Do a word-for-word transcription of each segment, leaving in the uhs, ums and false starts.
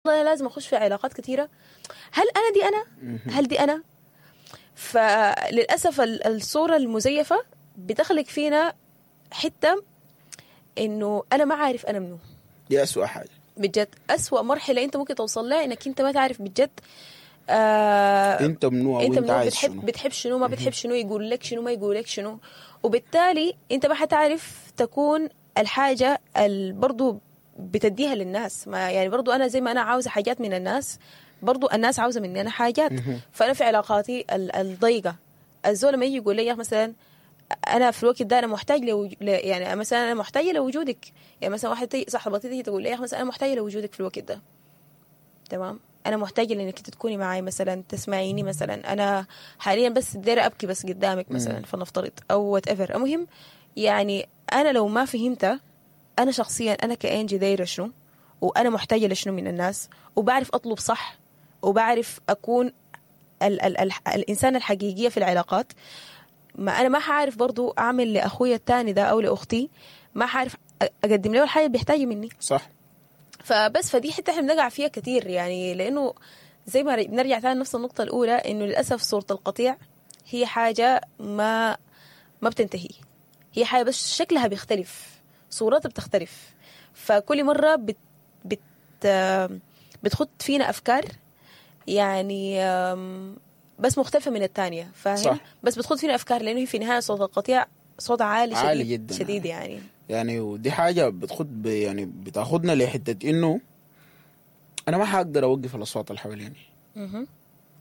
انا لازم اخش في علاقات كثيرة؟ هل انا دي انا؟ هل دي انا؟ فللاسف ال- الصورة المزيفه بتخلق فينا حتة انه انا ما عارف انا منو. دي اسوء حاجة. بجد اسوأ مرحلة انت ممكن توصل لها انك انت ما تعرف بجد آه انت منو او انت انت منو، عايز بتحب شنو. بتحب شنو، ما بتحب شنو، يقول لك شنو، ما يقول لك شنو، وبالتالي انت ما حتعرف تكون الحاجة اللي برضو بتديها للناس. ما يعني برضو انا زي ما انا عاوزه حاجات من الناس، برضو الناس عاوزه مني انا حاجات. فانا في علاقاتي ال- الضيقه الزول لما يجي يقول لي يا أخي مثلا انا في الوقت ده انا محتاج لوج... ل... يعني مثلا انا محتاجه لوجودك، يعني مثلا واحدة تيجي- صاحبتي تيجي تقول لي يا أخي مثلا انا محتاجه لوجودك في الوقت ده، تمام، انا محتاجه لانك انت تكوني معي مثلا، تسمعيني مثلا، انا حاليا بس دايرة ابكي بس قدامك مثلا، فلنفترض او whatever. المهم يعني انا لو ما فهمت انا شخصيا انا كانجي دايرة شنو وانا محتاجه لشنو من الناس، وبعرف اطلب صح، وبعرف اكون ال ال ال الانسان الحقيقية في العلاقات، ما انا ما حعرف برضو اعمل لاخويا التاني ده او لاختي، ما حعرف اقدم له الحاجة اللي بيحتاجها مني. صح. فبس فدي حتة احنا بنقع فيها كتير، يعني لانه زي ما بنرجع تاني نفس النقطة الاولى، انه للاسف صوره القطيع هي حاجة ما ما بتنتهي، هي حاجة بس شكلها بيختلف، صورتها بتختلف، فكل مرة بت بت بتخط فينا افكار يعني آم، بس مختلفة من الثانية، فاهم؟ صح. بس بتخط فينا افكار لانه هي في النهاية صوت القطيع صوت عالي شديد، عالي جداً. شديد يعني. يعني ودي حاجة بتخد ب- يعني بتاخدنا لحته انه انا ما حقدر اوقف الاصوات اللي حواليني.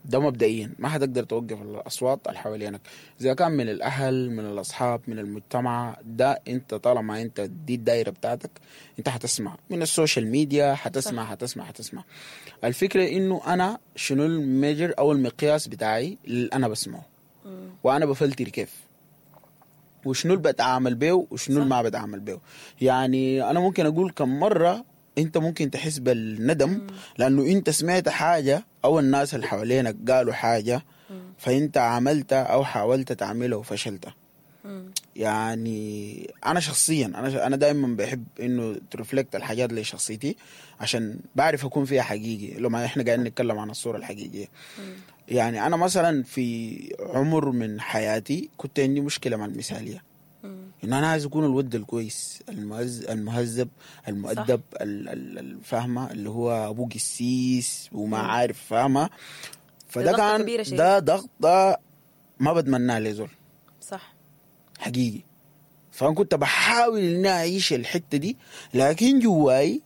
ده مبدئيا ما حتقدر توقف الاصوات اللي حوالينك، اذا كان من الاهل، من الاصحاب، من المجتمع. ده انت طالما انت دي الدايرة بتاعتك انت حتسمع من ال social media، حتسمع حتسمع حتسمع. الفكرة انه انا شنو ال measure او المقياس بتاعي اللي انا بسمعه، وانا بفلتر كيف، وشنو اللي بتعامل بيه وشنو اللي ما بتعامل بيه. يعني انا ممكن اقول كم مرة انت ممكن تحس بالندم لانه انت سمعت حاجة او الناس اللي حوالينك قالوا حاجة، فانت عملتها او حاولت تعملها وفشلت. يعني انا شخصيا انا انا دائما بحب انه ت reflect الحاجات لشخصيتي عشان بعرف اكون فيها حقيقي لو ما احنا قاعدين نتكلم عن الصورة الحقيقية. يعني انا مثلا في عمر من حياتي كنت عندي مشكلة مع المثالية، ان انا عايز اكون الود الكويس المهز المهذب المؤدب ال- ال- الفاهمه اللي هو ابو قسيس وما عارف فاهمه. فده ضغطة كان كبيرة شديد. ده ضغط ده ما بتمناه لزول صح. حقيقي. فانا كنت بحاول اني اعيش الحتة دي، لكن جواي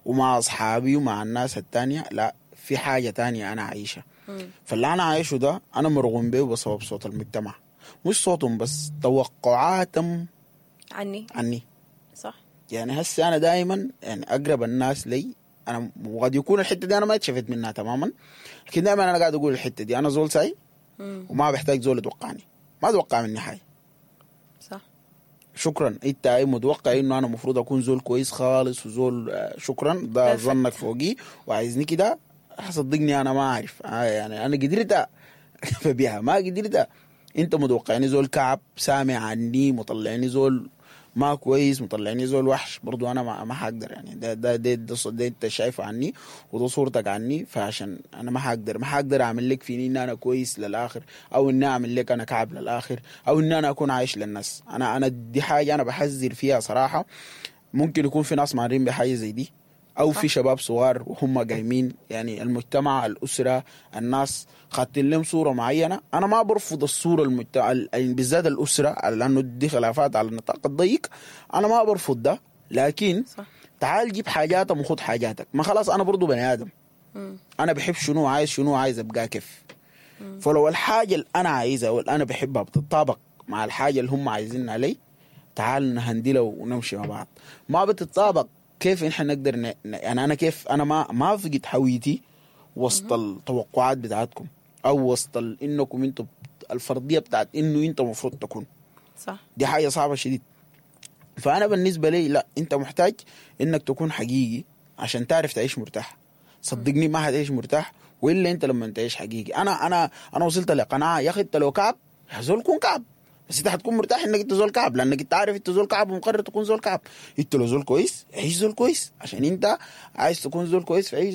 ومع اصحابي ومع الناس التانية لا، في حاجة تانية انا عايشها. فاللي انا عايشه ده انا مرغوم به بسبب صوت المجتمع، مش صوتهم بس، توقعاتهم عني. عني. صح. يعني هسه انا دائما يعني اقرب الناس لي انا، وقد يكون الحتة دي انا ما اتشفت منها تماما، لكن دائما انا قاعد اقول الحتة دي انا زول ساي وما بحتاج زول يتوقعني، ما اتوقع مني حاجة. صح. شكرا، انت اي متوقع انه انا المفروض اكون زول كويس خالص وزول آه، شكرا ده Perfect. ظنك فوقي وعايزني كده. صدقني انا ما اعرف آه، يعني انا قدرت فبيها ما قدرت. انت متوقعني زول كعب، سامع عني، مطلعني زول ما كويس، مطلعني زول وحش، برضو انا ما ما حقدر. يعني ده ده ده, ده, ده انت شايفه عني وده صورتك عني، فعشان انا ما حقدر ما حقدر اعمل لك فيني ان انا كويس للاخر، او اني اعمل لك انا كعب للاخر، او ان انا اكون عايش للناس. انا انا دي حاجة انا بحذر فيها صراحة. ممكن يكون في ناس مارين بحاجة زي دي، او في شباب صغار وهم قايمين، يعني المجتمع، الاسرة، الناس خاطين لهم صوره معينة. انا ما برفض الصورة المجتمع بالذات الاسرة، لانه دي خلافات على النطاق الضيق، انا ما برفض ده، لكن صح. تعال جيب حاجاتك وخد حاجاتك. ما خلاص انا برضو بني ادم، انا بحب شنو، عايز شنو، عايز ابقى كيف. فلو الحاجة اللي انا عايزها واللي انا بحبها بتطابق مع الحاجة اللي هم عايزينها لي، تعال نهندلها ونمشي مع بعض. ما بتتطابق كيف احنا نقدر ن... يعني انا كيف انا ما ما فقد هويتي وسط التوقعات بتاعتكم، او وسط ال... انكم انتوا الفرضية بتاعت انه انت المفروض تكون. صح. دي حاجة صعبة شديد. فانا بالنسبة لي لا، انت محتاج انك تكون حقيقي عشان تعرف تعيش مرتاح. صدقني ما حتعيش مرتاح والا انت لما تعيش حقيقي. انا انا انا وصلت لقناعة يا اخي انت لو كعب يا زول كون كعب، بس انت حتكون مرتاح انك انت زول كعب، لانك انت عارف انت زول كعب ومقرر تكون زول كعب. انت لو زول كويس عيش زول كويس، عشان انت عايز تكون زول كويس فعيش